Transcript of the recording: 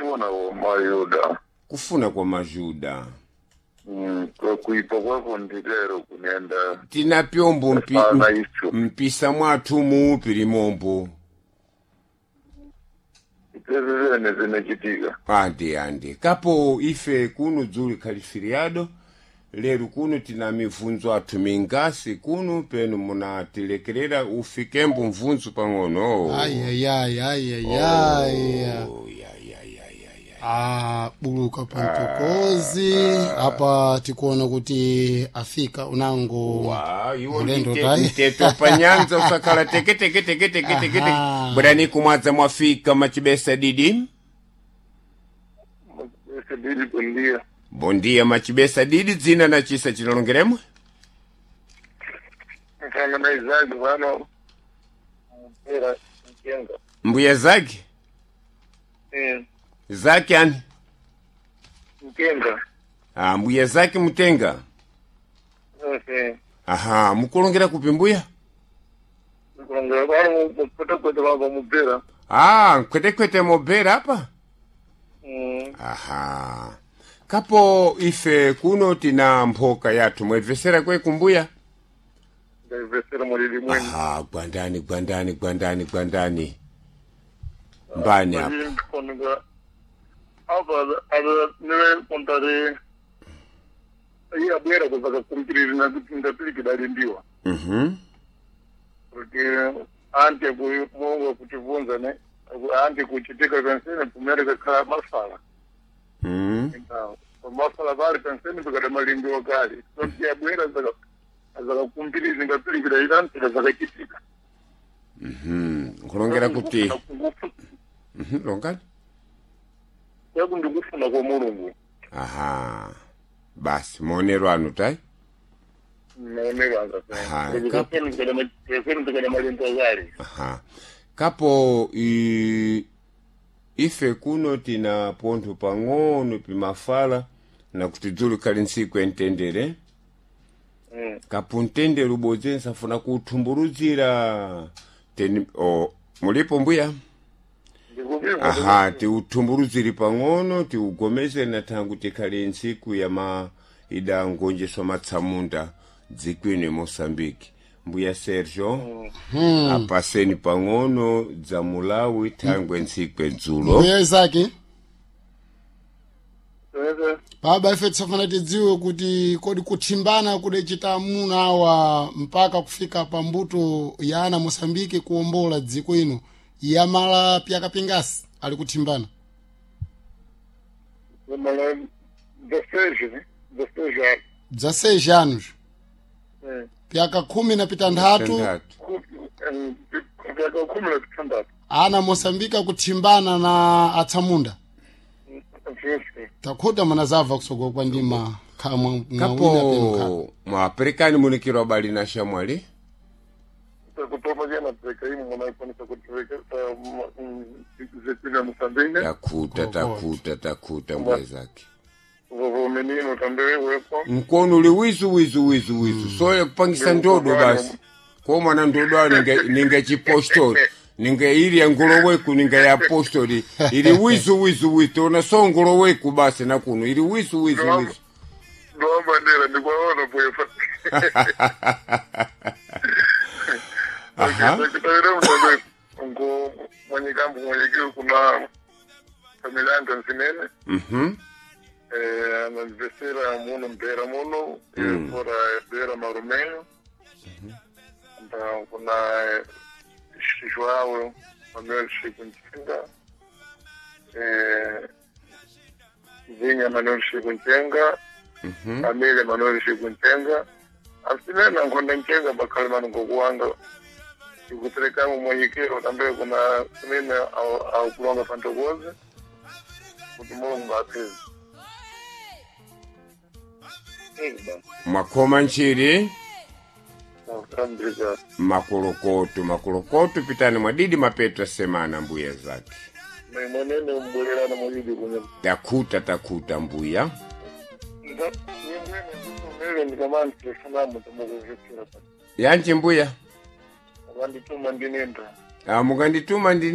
Kufuna kwa mayuda. Kufuna kwa majuda. Kwa kuipa kwako ndilero kunenda. Tina pyombo Fana icho. mpisa mwathu muupi limombo. Itezi zene zinachitika. Andi andi kapo ife kuno dzuli khali feriado lero kuno tina mivunzo athu mingasi kuno penu munatilekerera ufikembo mvunzo pang'ono. Ayayayayayaya. Oh, ya, ya, ya, ya, ya. Ah, buluka pantokozi apa tikuona kuti afika unango Wa, iwo mulendo tai mteto panyanza usakhala teke teke teke teke teke teke. Aha. Bwerani kumwadza mwafika machibesa didi. Sedili kundia. Bondia machibesa didi dzina na chisa chinalongeremwe. Mfano na Isaac vano. Mpera mchenga. Mbuya zake zake ani. Mchenga. Ah, mbuya zake mutenga. Okay. Aha, mukulongera kupi mbuya? Kulongera vano mupota vavo mupera. Ah, nkwetekwete mobera apa? Aha. Kapo ife kuno tina mphoka yathu mwebvesera kwe kumbuya? Ndaivesera mulili mwene. Aha, gwandani gwandani gwandani gwandani. Mbani apa? Konuga. Apa ada niwe kontare. Iye abwera kuzaka kumpiriri na kuti ndapirikidali Mhm. Kuti ante ku Mungu kutivunza ne ante kuchitika kansene pumere kakhala mafala. Então, mafala vali kansene pakati malimbiwa kale. Kuti abwera zaka azakakumpirizi ngapirikida ilanti zakachitika. Nkulongera kuti longani? Yakundikufuna kwa Mulungu. Aha. Basi maonero anu tai? Maonero Aha, anga. Kansene malimbiwa kale. Aha. Kapo ife kuno tina pontho pang'ono pimafala na kuti dzulu khali ntsiku entendere. Kapo mtendere ubodzi nsafuna kuuthumburudzira teni o mulipo mbuya? Aha, tiuthumburudzire pang'ono tiugomezere na thangu tikhali ntsiku ya ma idangonjeswa matsamunda dzikwino mosambiki. Mbuya Sergio, apaseni pang'ono dza mulawi thangwe ntsiku edzulo. Mbuya Isaki baba ife tisafuna tidziwe kuti kodi kuthimbana kudachita amuna awa mpaka kufika pa mbuto ya ana Mosambiki kuwombola dziko ino yamala pyakapingasi ali kuthimbana. Mala 16, né? 16 anos. Bza 6 anos pyaka 16. Tandatu. Pyaka 16. Ana Mosambiki akuthimbana na atsamunda. Takhuta manazabva kusogola kwa ndima khamwa mwawina penu kha. Kapo mwaperekani munikiro abali na shamwali? Kutoma jana peka imu mwanaikonisa kutuweka zepina Mosambike. Takuta takuta takuta mbuya zake. Vovo menino também wepo. Mkono uli wizu wizu wizu wizu soye kupangisa ndodo basi ko mwana ndodo ayo ninge chipostori ninge ili ya nguloweku ninge ya postori ili wizu wizu wizu tona so nguloweku basi na kuno ili wizu wizu wizu. Ndoa bandera ndikwaona poefa. Aha. Kutawira mtambe ngo mwenye kambu mwenye kiu kuna familia yangu nsinene. Anavesera muno mpera muno fora bera marumenyo. Então kuna João Manuel Chico Nchenga, Vinha Manuel Chico Nchenga, Amelia Manuel Chico Nchenga, asinena nkonda Nchenga bakhale mano ngokuwanga ikuterekamu mwenyekero tambe kuna sinene aukulonga pantokoze kuti Mulungu apeze. Mwakhoma nchiri. Nakutambika. Makolokoto makolokoto pitani mwadidi mapeto semana mbuya zake. Mwenene mbwererana mwididi kunye. Takuta takuta mbuya. Nyingine ndikamani Yanji mbuya. Vandituma ndinenda. Ah, mukandituma ndine.